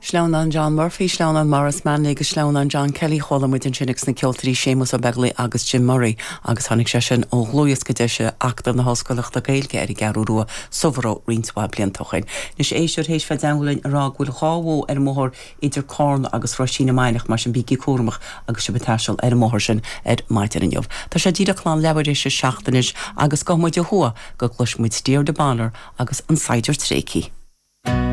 Sleamhnán John Murphy, Sleamhnán Maurice Manley agus Sleamhnán John Kelly Chuala muid ansin agus na ceoltóirí Séamus Ó Beaglaoi agus Jim Murray agus tháinig sé sin ó dhlúthdhiosca deise Acadamh na hOllscoileachta Gaeilge ar an gCeathrú Rua sa Bhoró roinnt mhaith blianta ó shin. Anois éisteoir théis bheith i dteangmháil linn a rá go bhfuil 2 bhó ar an mbóthar idir Cárna agus Roisín na Mainiach, mar sin bígí cúramach agus sibh ag taisteal ar an mbóthar sin ar maidin inniu. Tá sé díreach lán leathuair théis a 7 anois agus gabhfaidh muid ó thuaidh go gcloisfidh muid Deirdre Bonner agus an Saighdiúir Tréigthe.